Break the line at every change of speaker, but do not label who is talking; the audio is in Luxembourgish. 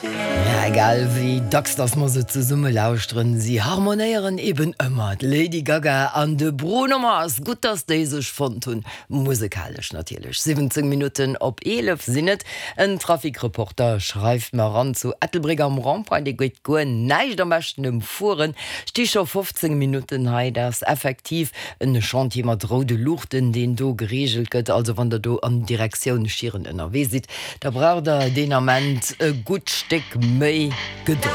Ja, egal wéi dacks dass mer se zesumme lauschteren, si harmonéieren eben ëmmer, d'Lady Gaga an de Bruno Mars. Gutt, dass déi sech fonnt hunn, musekalesch natierlech. 17 Minutten op 11 sinn et. En Trafikreporter schreift mer eran, zu Ettelbréck am Rond-point, dee geet guer näischt, am beschten ëmfueren. Sti scho 15 Minutten hei. Dat ass effektiv en Chantier mat roude Luuchten, deen do gereegelt gëtt. Also wann der do an Direktioun Schieren ënnerwee sidd, Da braucht der deen Ament e gutt Stéck méi Gedold.